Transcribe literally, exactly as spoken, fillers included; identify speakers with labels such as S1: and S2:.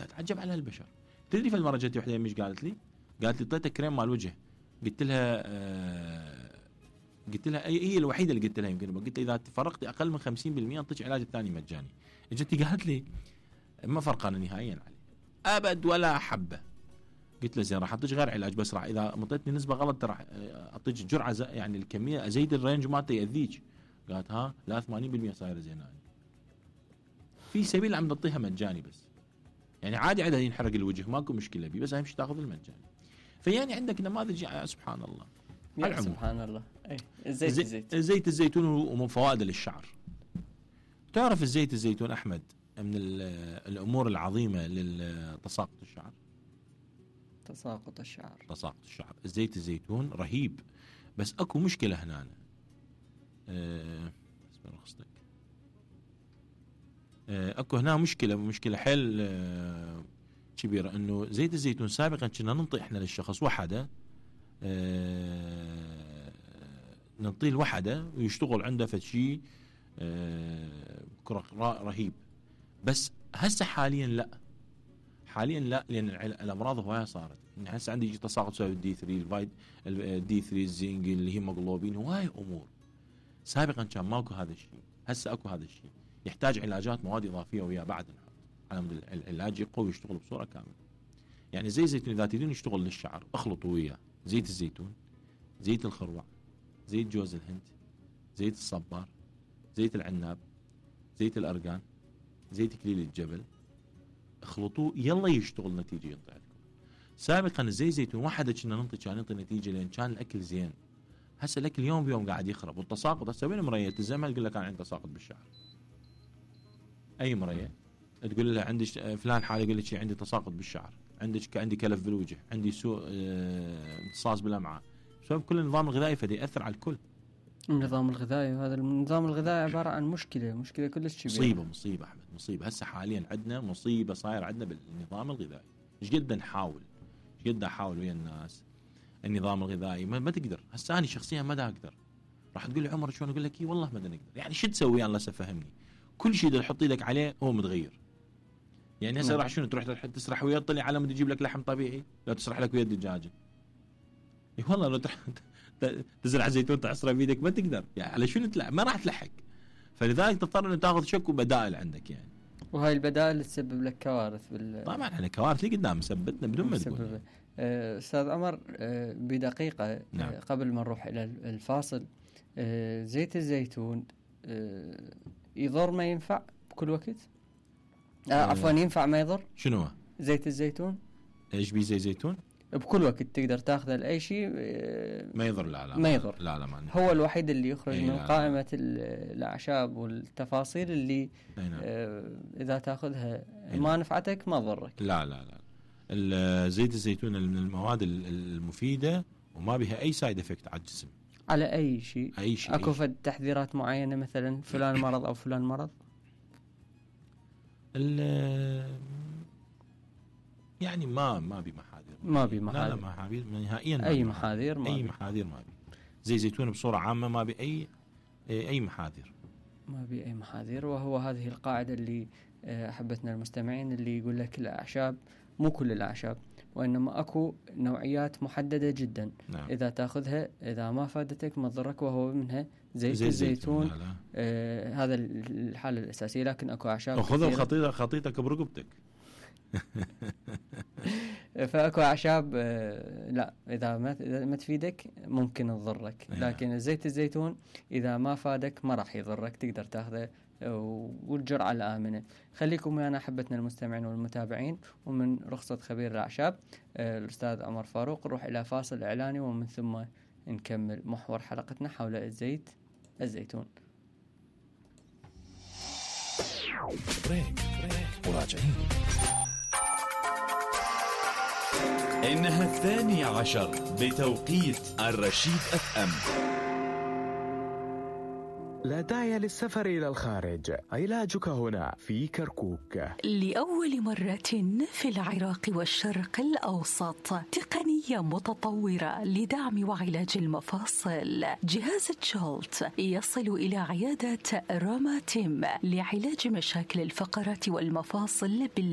S1: اتعجب على هالبشر. تدري في المره جتي وحده مش قالت لي قالت لي طيتها كريم مال وجه. قلت لها آه قلت لها اي هي الوحيده اللي قلت لها يمكن قلت اذا فرقتي اقل من خمسين بالمئة انطيك علاج الثاني مجاني. اجتي قالت لي ما فرقنا نهائيا عليه ابد ولا حبه. قلت له زين راح اعطيك غير علاج بس راح اذا مطيتني نسبه غلط راح اعطيك جرعه يعني الكميه ازيد الرينج مالته ياذيك. قالت ها لا ثمانين بالمئة صايره زينه في سبيل عم نعطيها مجاني بس يعني عادي عندها ينحرق الوجه ماكو مشكله بيه بس اهم شيء تاخذ المجاني. فيعني عندك نماذج سبحان الله
S2: يا سبحان الله. اي الزيت
S1: زي
S2: الزيت
S1: زيت الزيتون ومن فوائده للشعر. تعرف الزيت الزيتون احمد من الامور العظيمه للتساقط الشعر.
S2: تساقط الشعر
S1: تساقط الشعر الزيت الزيتون رهيب بس اكو مشكله هنا أه رخصتك أه اكو هنا مشكله مشكله حيل أه كبيره انه زيت الزيتون سابقا كنا ننطي احنا للشخص وحده أه ننطيه الوحده ويشتغل عنده فشي أه رهيب. بس هسه حاليا لا حاليا لا لان الامراض هوايه صارت. يعني هسه عندي يجي تساقط بسبب الدي ثلاثة الفايت الدي ثلاثة الزنك الهيموغلوبين هوايه امور. سابقا كان ماكو هذا الشيء هسه اكو هذا الشيء يحتاج علاجات مواد اضافيه ويا بعد نحط على مود العلاج يقوي ويشتغل بصوره كامله. يعني زي الزيتون اذا تريدون يشتغل للشعر اخلطوا وياه زيت الزيتون زيت الخروع زيت جوز الهند زيت الصبار زيت العناب زيت الارغان زيت كليل الجبل اخلطوه يلا يشتغل نتيجه ينطي عندكم. سابقا الزيت زيتون واحده كنا ننطي كان ينطي نتيجه لان كان الاكل زين. هسه الاكل يوم بيوم قاعد يخرب والتساقط هسه وين مريه تلزمها تقول لك انا عندي تساقط بالشعر. اي مريه تقول لها عندي فلان حاله يقول لك عندي تساقط بالشعر عندك عندي كلف بالوجه عندي سوء امتصاص بالامعاء بسبب كل النظام الغذائي فدي ياثر على الكل.
S2: النظام الغذائي وهذا النظام الغذائي عباره عن مشكله مشكله كلش كبيره.
S1: مصيبه مصيبه احمد مصيبه. هسه حاليا عندنا مصيبه صاير عندنا بالنظام الغذائي. ايش قد نحاول ايش قد احاول ويا الناس النظام الغذائي ما, ما تقدر. هسه انا شخصيا ما دا اقدر. راح تقول لي عمر شلون اقول لك اي والله ما دا نقدر. يعني شو تسوي الله سفهمني. كل شيء اللي تحط ايدك عليه هو متغير. يعني هسه راح شنو تروح تسرح ويا طلع على مود يجيب لك لحم طبيعي لا تسرح لك ويا الدجاجه. اي والله لو تزرع زيتون تعصره بيدك ما تقدر يعني على شنو تلعب ما راح تلحق. فلذلك تضطر ان تاخذ شك وبدائل عندك يعني.
S2: وهاي البدائل تسبب لك كوارث بال
S1: طبعا احنا كوارث اللي قدام سبتنا بدون ما تقول.
S2: أه استاذ عمر أه بدقيقه نعم. أه قبل ما نروح الى الفاصل أه زيت الزيتون أه يضر ما ينفع بكل وقت؟ أه أه عفوا ينفع ما يضر؟
S1: شنو
S2: زيت الزيتون؟
S1: ايش بيه زيت زيتون؟
S2: بكل وقت تقدر تاخذه لاي شيء
S1: ما يضر. لا لا
S2: ما يضر.
S1: لا لا ما
S2: هو الوحيد اللي يخرج من
S1: لا
S2: قائمه لا. الاعشاب والتفاصيل اللي
S1: لا.
S2: اذا تاخذها ما نفعتك ما ضرك.
S1: لا لا لا زيت الزيتون من المواد المفيده وما بها اي سايد افكت على الجسم
S2: على اي شيء.
S1: اي شيء
S2: اكو فد تحذيرات معينه مثلا فلان مرض او فلان مرض؟
S1: يعني ما ما بي محاذير
S2: ما بي محاذير
S1: لا لا محاذير نهائيا
S2: اي محاذير ما
S1: اي
S2: بي.
S1: محاذير ما بي. زي زيتون بصوره عامه ما بي اي اي محاذير
S2: ما بي اي محاذير. وهو هذه القاعده اللي احبتنا المستمعين اللي يقول لك الاعشاب مو كل الاعشاب وانما اكو نوعيات محدده جدا.
S1: نعم.
S2: اذا تاخذها اذا ما فادتك ما تضرك وهو منها زيت
S1: زي
S2: الزيتون.
S1: لا لا.
S2: آه هذا الحاله الاساسيه. لكن اكو اعشاب
S1: خذ الخطيطه خطيتك برقبتك.
S2: فاكو اعشاب لا اذا ما اذا ما تفيدك ممكن تضرك. لكن زيت الزيتون اذا ما فادك ما راح يضرك تقدر تاخذه والجرعه الامنه. خليكم ويانا احبتنا المستمعين والمتابعين ومن رخصه خبير الاعشاب الاستاذ عمر فاروق نروح الى فاصل اعلاني ومن ثم نكمل محور حلقتنا حول الزيت الزيتون.
S3: بريك بريك وراجعين. إنها الثانية عشر بتوقيت الرشيد أف أم.
S4: لا داعي للسفر إلى الخارج، علاجك هنا في كركوك.
S5: لأول مرة في العراق والشرق الأوسط تقنية متطورة لدعم وعلاج المفاصل. جهاز جولت يصل إلى عيادة روما تيم لعلاج مشاكل الفقرات والمفاصل بال